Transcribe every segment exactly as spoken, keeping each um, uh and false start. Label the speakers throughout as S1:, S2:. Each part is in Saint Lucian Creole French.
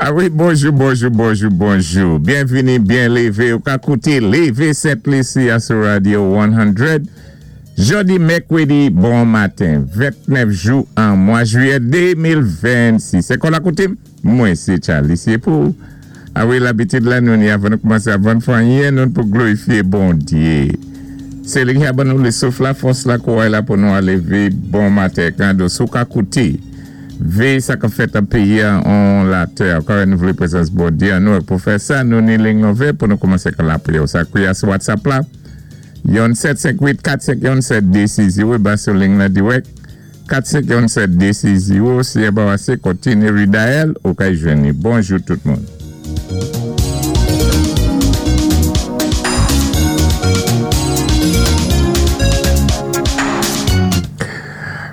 S1: A wi, bonjou, bonjou, bonjou, bonjou. Byenvini, byen lévé. Ou ka kouté Lévé Sent-Lisi sou Radio san. Jòdi mèkwédi, bon maten, ventnèf jou an mwa jwiyè de mil vennsis. Sé kon lakoutim? Mwen, sé Charlie, sé pou. A wi, labitid la, nou ni avan nou koumansé avan fè anyen, nou pou glorifié Bondyé. Sé li ki a ban nou lé souf la, fòs la, kouway la pou nou a lévé bon maten. Kan do sou ka kouté, vé sa ka fèt an péyi an latè, ka nou vlé prézans Bondyé an nou, pou fè sa, nou ni ling nouvé pou nou koumansé ka lapriyè. Sa kwiyé sou WhatsApp la, yon sèt senk uit kat senk yon sèt de sis zewo, ba sou ling la dirèk, kat senk yon sèt de sis zewo, si e ba wase, kontini redial, ou ka jwenni. Bonjou tout moun.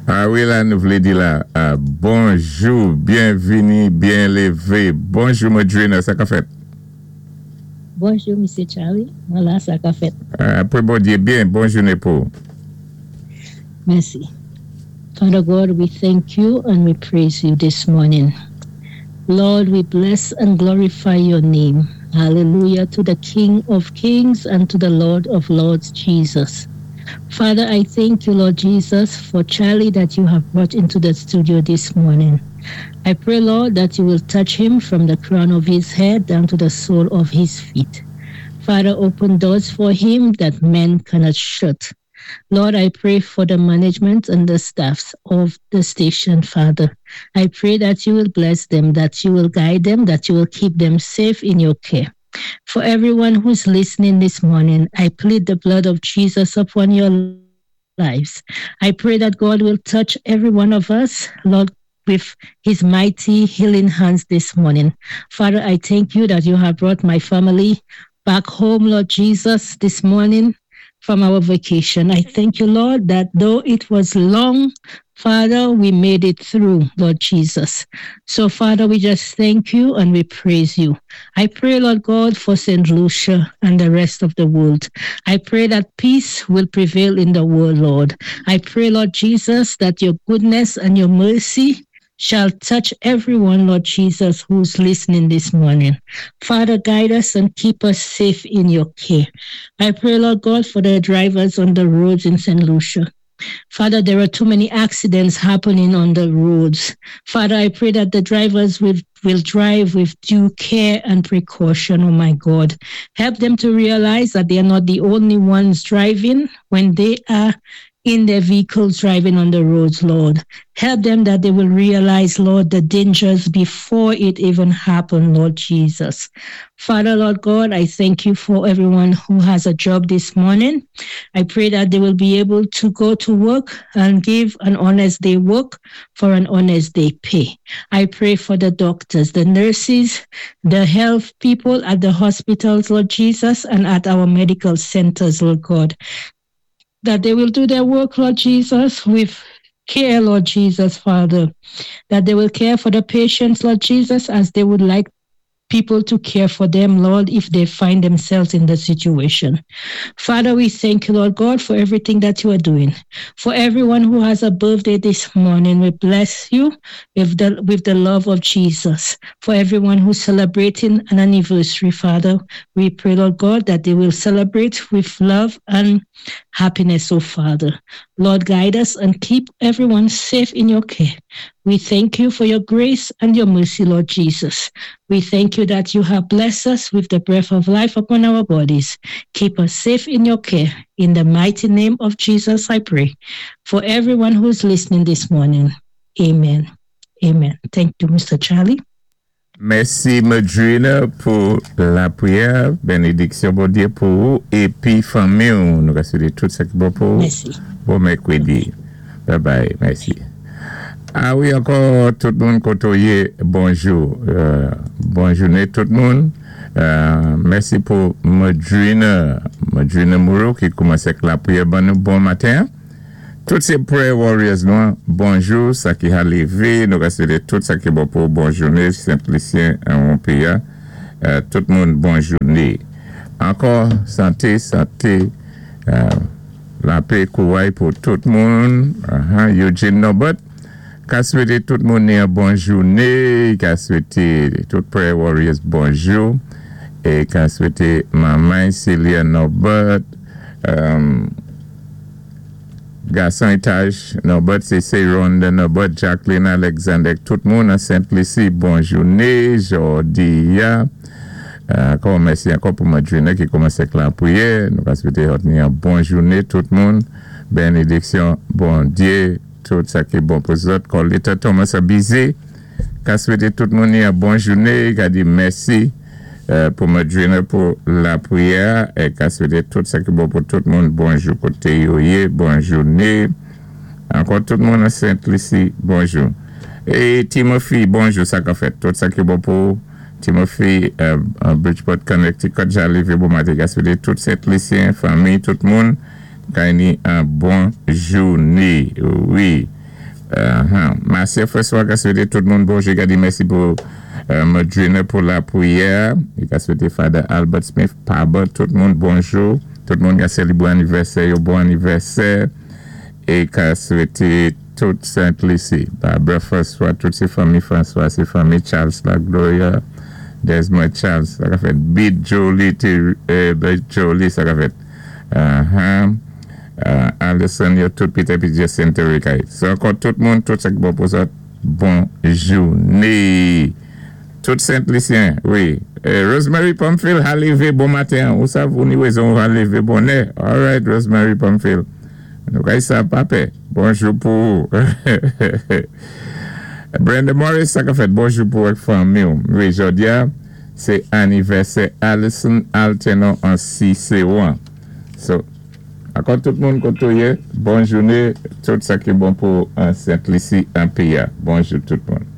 S1: A wi, la, nou vlé di la, ah, bonjou, byenvini, byen lévé. Bonjou, Madrina, sa ka fèt?
S2: Bonjou, Misyé Charlie. Vwala, sa ka fèt.
S1: Apwé Bondyé byen, bon jouné pou.
S2: Mèsi. Father God, we thank you and we praise you this morning. Lord, we bless and glorify your name. Hallelujah to the King of Kings and to the Lord of Lords, Jesus. Father, I thank you, Lord Jesus, for Charlie that you have brought into the studio this morning. I pray, Lord, that you will touch him from the crown of his head down to the sole of his feet. Father, open doors for him that men cannot shut. Lord, I pray for the management and the staffs of the station, Father. I pray that you will bless them, that you will guide them, that you will keep them safe in your care. For everyone who's listening this morning, I plead the blood of Jesus upon your lives. I pray that God will touch every one of us, Lord, with his mighty healing hands this morning. Father, I thank you that you have brought my family back home, Lord Jesus, this morning from our vacation. I thank you, Lord, that though it was long, Father, we made it through, Lord Jesus. So, Father, we just thank you and we praise you. I pray, Lord God, for Saint Lucia and the rest of the world. I pray that peace will prevail in the world, Lord. I pray, Lord Jesus, that your goodness and your mercy shall touch everyone, Lord Jesus, who's listening this morning. Father, guide us and keep us safe in your care. I pray, Lord God, for the drivers on the roads in Saint Lucia. Father, there are too many accidents happening on the roads. Father, I pray that the drivers will, will drive with due care and precaution, oh my God. Help them to realize that they are not the only ones driving when they are in their vehicles driving on the roads, Lord. Help them that they will realize, Lord, the dangers before it even happened, Lord Jesus. Father, Lord God, I thank you for everyone who has a job this morning. I pray that they will be able to go to work and give an honest day work for an honest day pay. I pray for the doctors, the nurses, the health people at the hospitals, Lord Jesus, and at our medical centers, Lord God, that they will do their work, Lord Jesus, with care, Lord Jesus, Father, that they will care for the patients, Lord Jesus, as they would like people to care for them, Lord, if they find themselves in the situation. Father, we thank you, Lord God, for everything that you are doing. For everyone who has a birthday this morning, we bless you with the, with the love of Jesus. For everyone who's celebrating an anniversary, Father, we pray, Lord God, that they will celebrate with love and happiness, oh Father. Lord, guide us and keep everyone safe in your care. We thank you for your grace and your mercy, Lord Jesus. We thank you that you have blessed us with the breath of life upon our bodies. Keep us safe in your care. In the mighty name of Jesus, I pray. For everyone who's listening this morning, amen. Amen. Thank you, Mister Charlie.
S1: Mèsi, Madrina, pou lapriyè, bénédiksyon Bondyé pou ou, épi fanmi, nou swété tout sa ki bon pou ou.
S2: Mèsi.
S1: Bon mèkwédi. Bye bye, mèsi. A wi, ankò tout moun koto yé, bonjou. Euh, bon jouné tout moun. Euh, mèsi pou Madrina, Madrina Moreau ki koumansé ak lapriyè ban nou bon maten. Tout sé prayer warriors nou, bonjou, sa ki a lévé, nou swété tout sa ki bon pou bon jouné, Sent-Lisyen an péyi. Euh, tout moun bon jouné. Ankò, santé, santé, euh, lapè, kouway pou tout moun. Uh-huh. Eugene Norbert, Ka swété tout moun yon bon jouné, ka swété tout Prayer Warriors bonjou, é ka swété manman Celia Norbert, um, gason étaj Norbert, sé sé Rhonda Norbert, Jacqueline Alexander, tout moun an Sent Lisi, bon jouné, jòdi a. Ankò mèsi ankò pou Madrina ki kòmansé ak lapriyè. Nou ka swété yon bon jouné tout moun. Bénédiksyon, Bondyé, tout sa ki bon pou zòt. Colita Thomas a busy. Ka swété tout moun yon bon jouné. Ka di mèsi euh, pou Madrina pou lapriyè. É ka swété tout sa ki bon pou tout moun. Bonjou koté yo yé, bon jouné. Ankò tout moun a Sent Lisi, bonjou. É Timothy, bonjou, sa ka fèt. Tout sa ki bon pou Timothy, euh, Bridgeport, Connecticut, ja lévé bon maten, ka swété tout Sent Lisyen, fanmi, tout moun, ka ni yon bon jouné, wi. Uh-huh. Marcia François, ka swété tout moun bonjou, ka di mèsi pou euh, Madrina pou lapriyè, é ka swété Father Albert Smith, Pabot, tout moun bonjou, tout moun ka sélébwé anivèsè, yo bon anivèsè, é ka swété tout Sent Lisi, Barbara François, tout sé fanmi François, sé fanmi Charles La Gloria, Desmond Charles, sa ka fèt Bid Jolie, eh, Bid Jolie, sa ka fèt. Uh-huh. Uh, Anderson, yo tout Peter P. Jacinto Ricay. So, ankò tout moun, tout sa ki bon pou sa, bon jouné. Tout Sent Lisyen, wi. Eh, Rosemary Pamphile, a lévé bon maten. Ou sav, ou ni wézon a lévé bonè. All right, Rosemary Pamphile. Nou kay sa, papé. Bonjou pou ou. Brenda Morris, sa ka fèt bonjou pou ak fanmi. Wi, jòdi a, sé anivèsè Alison Altenon an Ciceron. So, ankò tout moun koté ou yé, bon jouné, tout sa ki bon pou an Sent Lisi an péyi a. Bonjou tout moun.